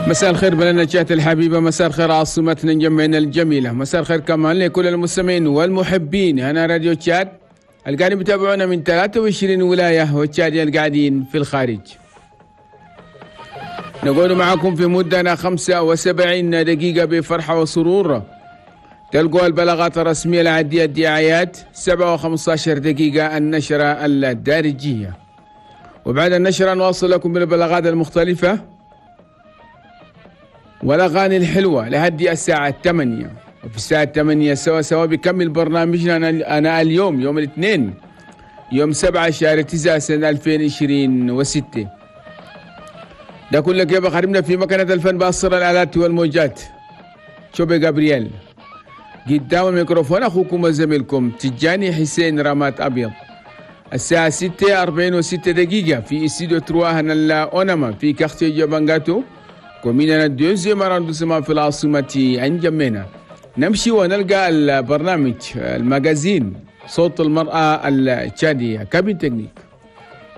مساء الخير بلدنا تشاد الحبيبة، مساء الخير عاصمتنا انجمينا الجميلة، مساء الخير كمان لكل المستمعين والمحبين هنا راديو تشاد القاعدين بيتابعونا من 23 ولاية والتشادية القاعدين في الخارج. نقول معكم في مدة 75 دقيقة بفرحة وسرور. تلقوا البلاغات الرسمية العادية الدعايات 7:15 دقيقة النشرة الدارجية، وبعد النشرة نواصل لكم بالبلاغات المختلفة والأغاني الحلوة لحد الساعة 8. وفي الساعة 8 سوا سوا بكمل برنامجنا أنا اليوم يوم الاثنين يوم 7 شهر 9 سنة 2026. ده كله كيف خدمنا في مكنة الفن باصر الآلات والموجات شوبي جابرييل، قدام الميكروفون أخوكم وزميلكم تجاني حسين رامات أبيض. الساعة 6:46 في استوديو trois هنا أونما في quartier جبانجاتو commune deuxième arrondissement في العاصمة انجمينا. نمشي ونلقى البرنامج ال magazine صوت المرأة التشادية cabine technique.